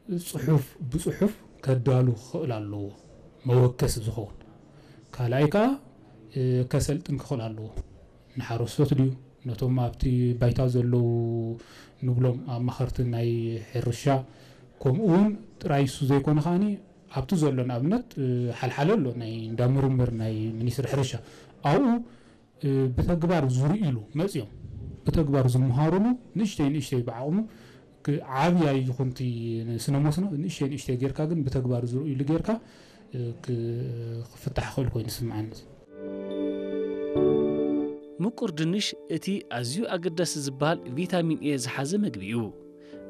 ጽሑፍ ብጽሑፍ ከዳሉ ክኽእል ኣለዎ፣ መወከሲ ዝኸውን። ካልኣይ ከኣ ከሰልጥን ክኽእል ኣለዎ። ንሓረስቶት ድዩ፣ ነቶም ኣብቲ ባይታ ዘለዉ ንብሎም ኣማኸርቲ ናይ ሕርሻ፣ ከምኡ እውን ጥራይ እሱ ዘይኮነ ከኣኒ ኣብቲ ዘሎ ንኣብነት ሓልሓለ ኣሎ ናይ እንዳ ምርምር ናይ ሚኒስትሪ ሕርሻ ኣብኡ ብተግባር ዝርእይሉ መፅዮም ብተግባር ዝምሃሩሉ ንእሽተይ ንእሽተይ ብዓቕሙ ዓብያ ይኹንቲ ስነ መስኖ ንእሽተይ ንእሽተይ ጌርካ ግን ብተግባር ዝርእይሉ ጌርካ ክፍታሕ ክእል ኮይኑ ስምዓኒ። ምቁር ድንሽ እቲ ኣዝዩ ኣገዳሲ ዝበሃል ቪታሚን ኤ ዝሓዘ መግቢ እዩ።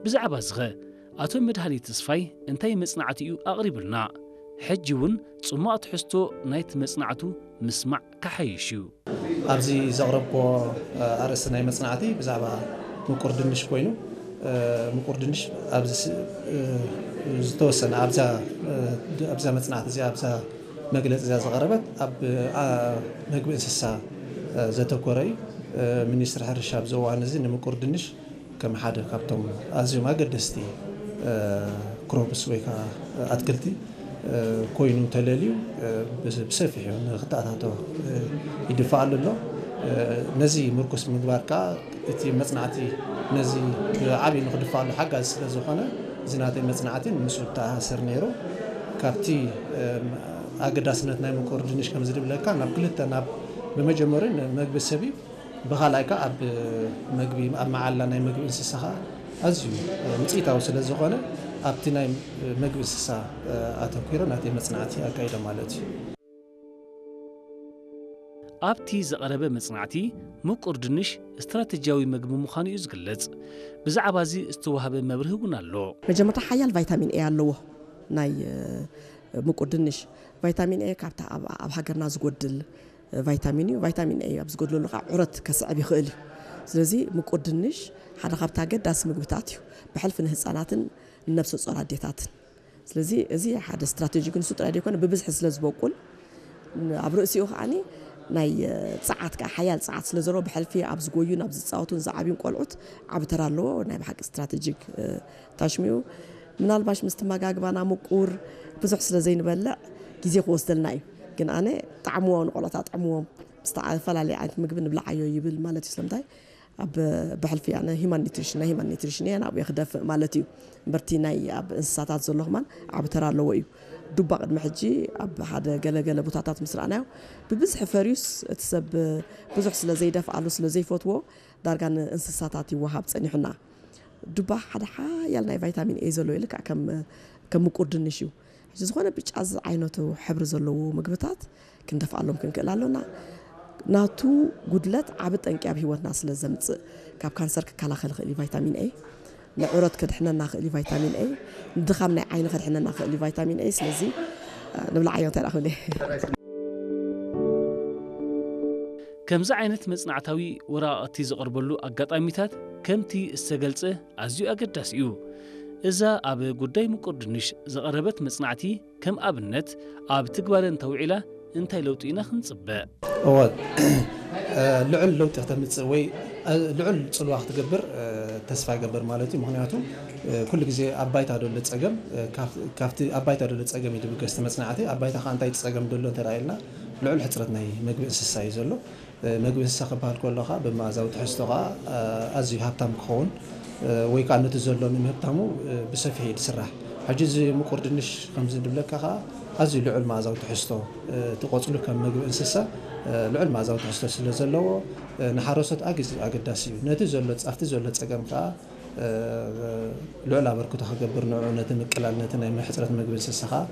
ብዛዕባ ዝኸ ኣቶ መድሃኒ ተስፋይ እንታይ መጽናዕቲ እዩ ኣቕሪቡልና? ሕጂ እውን ጽማቕ ትሕዝቶ ናይቲ መጽናዕቱ ምስማዕ ክሓይሽ እዩ። ኣብዚ ዘቕረብክዎ ኣርእስቲ ናይ መጽናዕቲ ብዛዕባ ምቁር ድንሽ ኮይኑ፣ ምቁር ድንሽ ኣብዚ ዝተወሰነ ኣብዛ መጽናዕቲ እዚኣ ኣብዛ መግለጺ እዚኣ ዝቐረበት ኣብ መግቢ እንስሳ ዘተኮረ እዩ። ሚኒስትሪ ሕርሻ ኣብዚ እዋን እዚ ንምቁር ድንሽ ከም ሓደ ካብቶም ኣዝዮም ኣገደስቲ ክሮፕስ ወይ ከዓ ኣትክልቲ ኮይኑ ተለልዩ ብሰፊሑ ንክተኣታቶ ይድፋኣሉ ኣሎ። ነዚ ምርኩስ ምግባር ከዓ እቲ መፅናዕቲ ነዚ ብዓብዩ ንክድፋኣሉ ሓጋዚ ስለ ዝኾነ እዚ ናተይ መፅናዕቲ ምስኡ ተኣሳስር ነይሩ። ካብቲ ኣገዳስነት ናይ ምቁር ድንሽ ከም ዝድብለካ ናብ ክልተ ናብ ብመጀመሪ መግቢ ሰብ እዩ። ብኻልኣይ ከዓ ኣብ መግቢ ኣብ መዓላ ናይ መግቢ እንስሳ ከዓ ኣዝዩ ውፅኢታዊ ስለ ዝኾነ ኣብቲ ናይ መግቢ እንስሳ ኣተኲረ ናተይ መፅናዕቲ ኣካይደ ማለት እዩ። ኣብቲ ዝቐረበ መጽናዕቲ ምቁር ድንሽ ስትራተጂያዊ መግቢ ምዃኑ እዩ ዝግለጽ። ብዛዕባ እዚ ዝተዋህበ መብርሂ እውን ኣሎ። መጀመርታ ሓያል ቫይታሚን ኤ ኣለዎ ናይ ምቁር ድንሽ። ቫይታሚን ኤ ካብታ ኣብ ሃገርና ዝጎድል ቫይታሚን እዩ። ቫይታሚን ኤ ኣብ ዝጎድለሉ ከዓ ዑረት ከስዕብ ይኽእል እዩ። ስለዚ ምቁር ድንሽ ሓደ ካብቲ ኣገዳሲ ምግብታት እዩ። ብሕልፊ ንህፃናትን ንነብሰ ጾር ኣዴታትን ስለዚ እዚ ሓደ ስትራቴጂ ግን እሱ ጥራይ ዘይኮነ ብብዝሒ ስለ ዝበቁል ኣብ ርእሲኡ ከዓኒ ናይ ፃዓት ከዓ ሓያል ፃዓት ስለ ዘለዎ ብሕልፊ ኣብ ዝጎዩን ኣብ ዝፃወቱን ዝዓብዩን ቆልዑት ዓብ ተራ ኣለዎ ናይ ብሓቂ ስትራቴጂክ ታሽሚኡ ምናልባሽ ምስ ትመጋግባና ምቁር ብዙሕ ስለ ዘይንበልዕ ግዜ ክወስደልና እዩ ግን ኣነ ጣዕምዎ ንቆልዑት ኣጥዕምዎም ዝተፈላለየ ዓይነት ምግቢ ንብልዓዮ ይብል ማለት እዩ ስለምንታይ ኣብ ብሕልፊ ኣነ ሂማን ኒትሪሽን ናይ ሂማን ኒትሪሽን እየ ናብኡ ክደፍእ ማለት እዩ እምበርቲ ናይ ኣብ እንስሳታት ዘሎ ከማን ዓብ ተራ ኣለዎ እዩ ዱባ ቅድሚ ሕጂ ኣብ ሓደ ገለገለ ቦታታት ምስ ረኣናዮ ብብዝሒ ፈርዩስ እቲ ሰብ ብዙሕ ስለ ዘይደፍኣሉ ስለ ዘይፈትዎ ዳርጋ ንእንስሳታት ይወሃብ ፀኒሑና ዱባ ሓደ ሓያል ናይ ቫይታሚን ኤ ዘሎ ኢልካ ከም ከም ምቁር ድንሽ እዩ ሕጂ ዝኾነ ብጫ ዝዓይነቱ ሕብሪ ዘለዎ ምግብታት ክንደፍኣሎም ክንክእል ኣሎና ናቱ ጉድለት ዓብ ጠንቂ ኣብ ሂወትና ስለ ዘምፅእ ካብ ካንሰር ክከላኸል ይኽእል እዩ ቫይታሚን ኤ ንዕሮት ከድሕነና ክእል እዩ ቫይታሚን ኤ ንድኻም ናይ ዓይኒ ከድሕነና ክእል እዩ ቫይታሚን ኤ ስለዚ ንብልዓዮ እንታይ ደኣ ክብል እየ ከምዚ ዓይነት መጽናዕታዊ ወረቓቕቲ ዝቐርበሉ ኣጋጣሚታት ከምቲ ዝተገልጸ ኣዝዩ ኣገዳሲ እዩ። እዛ ኣብ ጉዳይ ምቁር ድንሽ ዝቐረበት መጽናዕቲ ከም ኣብነት ኣብ ትግባረ እንተውዒላ እንታይ ለውጢ ኢና ክንጽበ? እወ ልዑል ለውጢ ክተምፅእ ወይ ልዑል ፅልዋ ክትገብር ተስፋ ይገብር ማለት እዩ። ምክንያቱ ኩሉ ግዜ ኣብ ባይታ ዘሎ ፀገም ካብቲ ኣብ ባይታ ዘሎ ፀገም እዩ ድብገስ እቲ መፅናዕቲ ኣብ ባይታ ከዓ እንታይ ፀገም ዘሎ እንተ ኢልና ልዑል ሕፅረት ናይ መግቢ እንስሳ እዩ ዘሎ። መግቢ እንስሳ ክበሃል ከሎ ከዓ ብመኣዛዊ ትሕዝቶ ከዓ ኣዝዩ ሃብታም ክኸውን ወይ ከዓ ነቲ ዘሎ ንምህብታሙ ብሰፊሕ እዩ ዝስራሕ። ሕጂ እዚ ምቁር ድንሽ ከምዚ ንብለካ ከዓ ኣዝዩ ልዑል መኣዛዊ ትሕዝቶ እቲ ቆፅሉ ከም መግቢ እንስሳ ልዑል መኣዛዊ ትሕዝቶ ስለ ዘለዎ ንሓረስቶት ኣግዚ ኣገዳሲ እዩ። ነቲ ዘሎ ኣብቲ ዘሎ ፀገም ከዓ ልዑል ኣበርክቶ ክገብር ንዑ ነቲ ምቅላል ነቲ ናይ ሕፅረት መግቢ እንስሳ ከዓ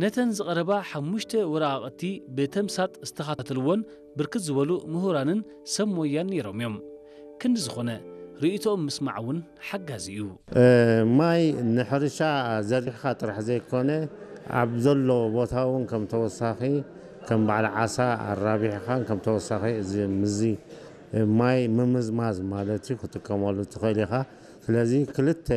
ነተን ዝቐረባ ሓሙሽተ ወረቓቕቲ ብተምሳጥ ዝተኻተልዎን ብርክት ዝበሉ ምሁራንን ሰብ ሞያን ነይሮም እዮም። ክንዲ ዝኾነ ርእይቶኦም ምስማዕ እውን ሓጋዚ እዩ። ማይ ንሕርሻ ዘሪሕኻ ጥራሕ ዘይኮነ ኣብ ዘሎ ቦታ እውን ከም ተወሳኺ ከም በዓል ዓሳ ኣራቢሕኻን ከም ተወሳኺ እዚ ምዚ ማይ ምምዝማዝ ማለት እዩ ክጥቀመሉ ትኽእል ኢኻ። ስለዚ ክልተ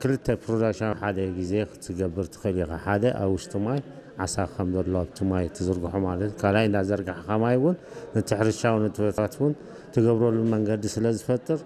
ክልተ ፕሮዳክሽን ኣብ ሓደ ግዜ ክትገብር ትኽእል ኢኻ። ሓደ ኣብ ውሽጢ ማይ ዓሳ ከም ዘሎ ኣብቲ ማይ ትዝርግሖ ማለት እዩ። ካልኣይ እንዳዘርጋሕካ ማይ እውን ነቲ ሕርሻዊ ንጥፈታት እውን ትገብረሉ መንገዲ ስለ ዝፈጥር